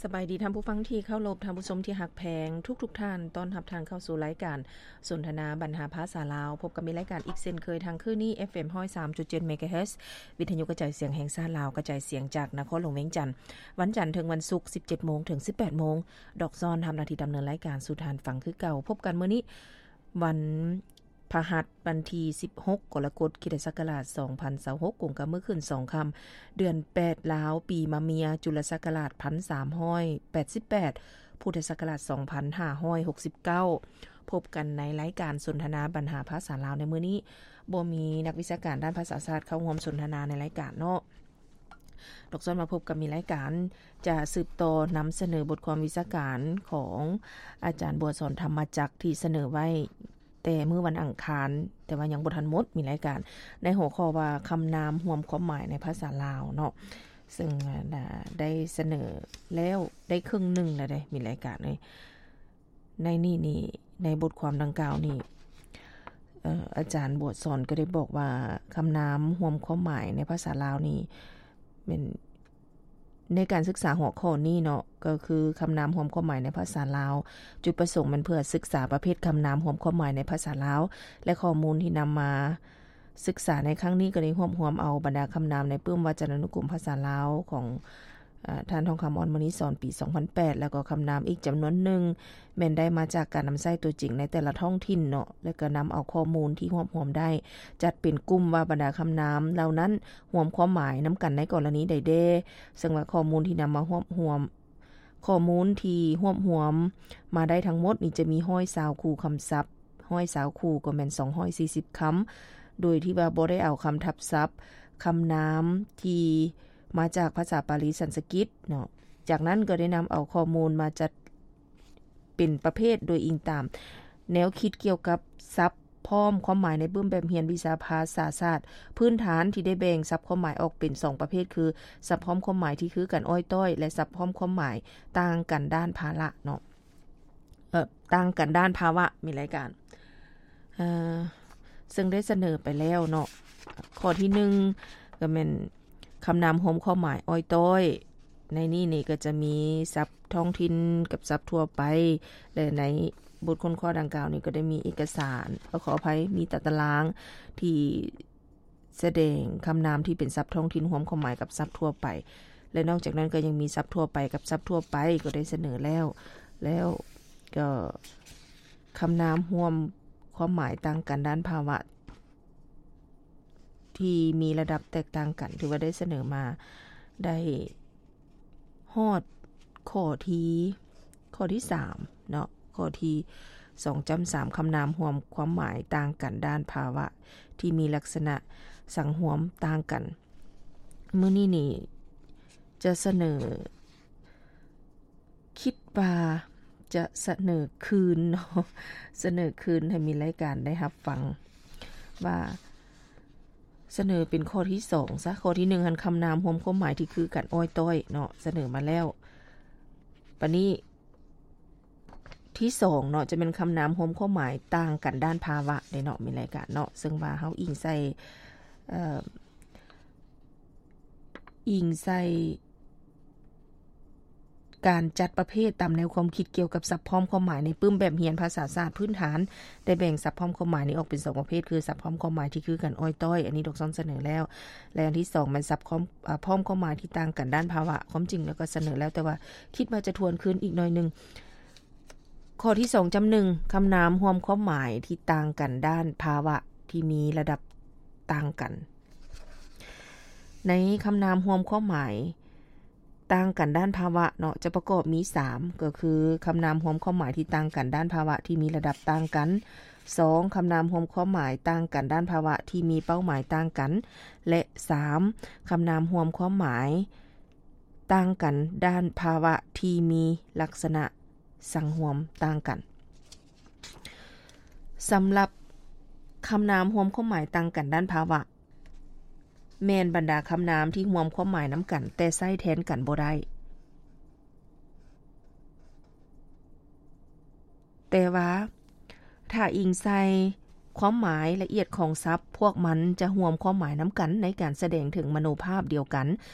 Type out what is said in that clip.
ສະບາຍດີທ່ານຜູ້ຟັງທີ່ເຄົາລົບ, ທ່ານຜູ້ຊົມທີ່ຮັກແພງທຸກໆທ່ານ, ຕ້ອນຮັບທ່ານເຂົ້າສູ່ລາຍການສົນທະນາບັນຫາພາສາລາວ. ພົບກັບມີລາຍການອີກເຊັ່ນເຄີຍທາງຄືນນີ້ ເອັຟເອັມຮ້ອຍສາມຈຸດເຈັດເມກາເຮີດ ວິທະຍຸກະຈາຍສຽງແຫ່ງຊາດລາວ, ກະຈາຍສຽງຈາກນະຄອນຫຼວງວຽງຈັນ, ວັນຈັນເຖິງວັນສຸກ ສິບເຈັດໂມງເຖິງສິບແປດໂມງ. ດອກຊອນທຳໜ້າທີ່ດຳເນີນລາຍການສູ່ທ່ານຟັງຄືເກົ່າ. ພົບກັນມື້ນີ້ ວັນ ພະຫັດ ວັນທີສິບຫົກ ກໍລະກົດ ຄຣິສຕະສັກກະລາດສອງພັນຊາວຫົກ ກົງກັບມື້ຂຶ້ນສອງຄ່ຳ ເດືອນແປດລາວ ປີມະເມຍ ຈຸລະສັກກະລາດພັນສາມຮ້ອຍແປດສິບແປດ ພຸດທະສັກກະລາດສອງພັນຫ້າຮ້ອຍຫົກສິບເກົ້າ. ພົບກັນໃນລາຍການສົນທະນາບັນຫາພາສາລາວໃນມື້ນີ້. ບໍ່ມີນັກວິຊາການດ້ານພາສາຊາດເຂົ້າຮ່ວມສົນທະນາໃນລາຍການເນາະ. ດອກຊອນມາພົບກັບມີລາຍການ ຈະສືບຕໍ່ນຳສະເໜີບົດຄວາມວິຊາການຂອງອາຈານບົວສອນ ທຳມະຈັກ ທີ່ສະເໜີໄວ້ ແຕ່ມື້ວັນອັງຄານ, ແຕ່ວ່າຍັງບໍ່ທັນໝົດ. ມີລາຍການໃນຫົວຂໍ້ວ່າ ຄຳນາມຮວມຄວາມໝາຍໃນພາສາລາວເນາະ, ເຊິ່ງ ອາ ໄດ້ສະເໜີແລ້ວ ໄດ້ເຄິ່ງໜຶ່ງແລ້ວເດ້ ມີລາຍການເອີຍ. ໃນນີ້ນີ້ ໃນບົດຄວາມດັ່ງກ່າວນີ້ ເອີ ອາຈານບົວສອນກໍໄດ້ບອກວ່າ ຄຳນາມຮວມຄວາມໝາຍໃນພາສາລາວນີ້ ແມ່ນ ໃນການສຶກສາຫົວຂໍ້ນີ້ເນາະ ກໍຄືຄຳນາມຮວມຄວາມໝາຍໃນພາສາລາວ, ຈຸດປະສົງແມ່ນເພື່ອສຶກສາປະເພດຄຳນາມຮວມຄວາມໝາຍໃນພາສາລາວ ແລະ ຂໍ້ມູນທີ່ນຳມາສຶກສາໃນຄັ້ງນີ້ ກໍໄດ້ຮວບຮວມເອົາບັນດາຄຳນາມໃນປຶ້ມວັດຈະນານຸກົມພາສາລາວຂອງ ອາ ທ່ານ ທອງຄຳ ອ່ອນມະນີສອນ ປີສອງພັນແປດ ແລ້ວກໍຄຳນາມອີກຈຳນວນໜຶ່ງ ແມ່ນໄດ້ມາຈາກການນຳໃຊ້ຕົວຈິງໃນແຕ່ລະທ້ອງຖິ່ນເນາະ ແລະ ກໍນຳເອົາຂໍ້ມູນທີ່ຮວບຮວມໄດ້ ຈັດເປັນກຸ່ມວ່າບັນດາຄຳນາມເຫຼົ່ານັ້ນ ຮວມຄວາມໝາຍນຳກັນໃນກໍລະນີໃດແດ່. ເຊິ່ງວ່າຂໍ້ມູນທີ່ນຳມາຮວບຮວມ, ຂໍ້ມູນທີ່ຮວບຮວມມາໄດ້ທັງໝົດນີ້ຈະມີຮ້ອຍຊາວຄູ່ຄຳສັບ, ຮ້ອຍຊາວຄູ່ກໍແມ່ນສອງຮ້ອຍສີ່ສິບຄຳ, ໂດຍທີ່ວ່າບໍ່ໄດ້ເອົາຄຳທັບສັບ, ຄຳນາມທີ່ມາຈາກພາສາປາລີສັນສະກິດເນາະ. ຈາກນັ້ນກໍໄດ້ນຳເອົາຂໍ້ມູນມາຈັດ ເປັນປະເພດໂດຍອີງຕາມແນວຄິດກ່ຽວກັບສັບພ້ອມຄວາມໝາຍໃນປຶ້ມແບບຮຽນວິຊາພາສາສາດພື້ນຖານ ທີ່ໄດ້ແບ່ງສັບຄວາມໝາຍອອກເປັນສອງປະເພດ ຄື ສັບພ້ອມຄວາມໝາຍທີ່ຄືກັນອ້ອຍຕ້ອຍ ແລະ ສັບພ້ອມຄວາມໝາຍຕ່າງກັນດ້ານພາລະເນາະ ເອີ ຕ່າງກັນດ້ານພາວະ. ມີລາຍການ ເອີ ເຊິ່ງໄດ້ສະເໜີໄປແລ້ວເນາະ. ຂໍ້ທີໜຶ່ງ ກໍແມ່ນຄຳນາມຮວມຄວາມໝາຍອ້ອຍຕ້ອຍ. ໃນນີ້ນີ້ກໍຈະມີສັບທ້ອງຖິ່ນກັບສັບທົ່ວໄປ ແລະ ໃນບົດຄົ້ນຄວ້າດັ່ງກ່າວນີ້ກໍໄດ້ມີເອກະສານ, ເອີ ຂໍອະໄພ, ມີຕາຕະລາງທີ່ສະແດງຄຳນາມທີ່ເປັນສັບທ້ອງຖິ່ນຮວມຄວາມໝາຍກັບສັບທົ່ວໄປ ແລະ ນອກຈາກນັ້ນກໍຍັງມີສັບທົ່ວໄປກັບສັບທົ່ວໄປ ກໍໄດ້ສະເໜີແລ້ວ. ແລ້ວກໍຄຳນາມຮວມຄວາມໝາຍຕ່າງກັນດ້ານພາວະ ທີ່ມີລະດັບແຕກຕ່າງກັນ ຖືວ່າໄດ້ສະເໜີມາໄດ້ຮອດຂໍ້ທີ ຂໍ້ທີສາມເນາະ, ຂໍ້ທີສອງຈ້ຳສາມ ຄຳນາມຮວມຄວາມໝາຍຕ່າງກັນດ້ານພາວະທີ່ມີລັກສະນະສັງຮວມຕ່າງກັນ. ມື້ນີ້ນີ້ຈະສະເໜີ ຄິດວ່າຈະສະເໜີຄືນເນາະ, ສະເໜີຄືນໃຫ້ມີລາຍການໄດ້ຮັບຟັງ ວ່າສະເໜີເປັນຂໍ້ທີສອງຊະ. ຂໍ້ທີໜຶ່ງຫັ້ນ ຄຳນາມຮວມຄວາມໝາຍທີ່ຄືກັນອ້ອຍຕ້ອຍເນາະ, ສະເໜີມາແລ້ວ. ບາດນີ້ທີສອງເນາະ ຈະແມ່ນຄຳນາມຮວມຄວາມໝາຍຕ່າງກັນດ້ານພາວະເດ້ເນາະ, ມີລາຍການເນາະ, ເຊິ່ງວ່າເຮົາອີງໃສ່ ເອີ ອີງໃສ່ການຈັດປະເພດຕາມແນວຄວາມຄິດກ່ຽວກັບສັບພ້ອມຄວາມໝາຍໃນປຶ້ມແບບຮຽນພາສາສາດພື້ນຖານ ໄດ້ແບ່ງສັບພ້ອມຄວາມໝາຍນີ້ອອກເປັນສອງປະເພດ ຄື ສັບພ້ອມຄວາມໝາຍທີ່ຄືກັນອ້ອຍຕ້ອຍ, ອັນນີ້ດອກຊອນສະເໜີແລ້ວ ແລະ ອັນທີສອງແມ່ນສັບຄວາມ ອາ ພ້ອມຄວາມໝາຍທີ່ຕ່າງກັນດ້ານພາວະ. ຄວາມຈິງແລ້ວກໍສະເໜີແລ້ວ ແຕ່ວ່າຄິດວ່າຈະທວນຄືນອີກໜ້ອຍໜຶ່ງ. ຂໍ້ທີສອງຈ້ຳໜຶ່ງ ຄຳນາມຮວມຄວາມໝາຍທີ່ຕ່າງກັນດ້ານພາວະທີ່ມີລະດັບຕ່າງກັນ. ໃນຄຳນາມຮວມຄວາມໝາຍຕ່າງກັນດ້ານພາວະເນາະ ຈະປະກອບມີສາມ ກໍຄື ຄຳນາມຮວມຄວາມໝາຍທີ່ຕ່າງກັນດ້ານພາວະທີ່ມີລະດັບຕ່າງກັນ, ສອງ ຄຳນາມຮວມຄວາມໝາຍຕ່າງກັນດ້ານພາວະທີ່ມີເປົ້າໝາຍຕ່າງກັນ ແລະ ສາມ ຄຳນາມຮວມຄວາມໝາຍ ຕ່າງກັນດ້ານພາວະທີ່ມີລັກສະນະສັງຮວມຕ່າງກັນ. ສຳລັບຄຳນາມຮວມຄວາມໝາຍຕ່າງກັນດ້ານພາວະ ແມ່ນບັນດາຄຳນາມທີ່ຮວມຄວາມໝາຍນຳກັນ ແຕ່ໃຊ້ແທນກັນບໍ່ໄດ້. ແຕ່ວ່າຖ້າອີງໃສ່ຄວາມໝາຍລະອຽດຂອງສັບ, ພວກມັນຈະຮວມຄວາມໝາຍນຳກັນໃນການສະແດງເຖິງມະໂນພາບດຽວກັນ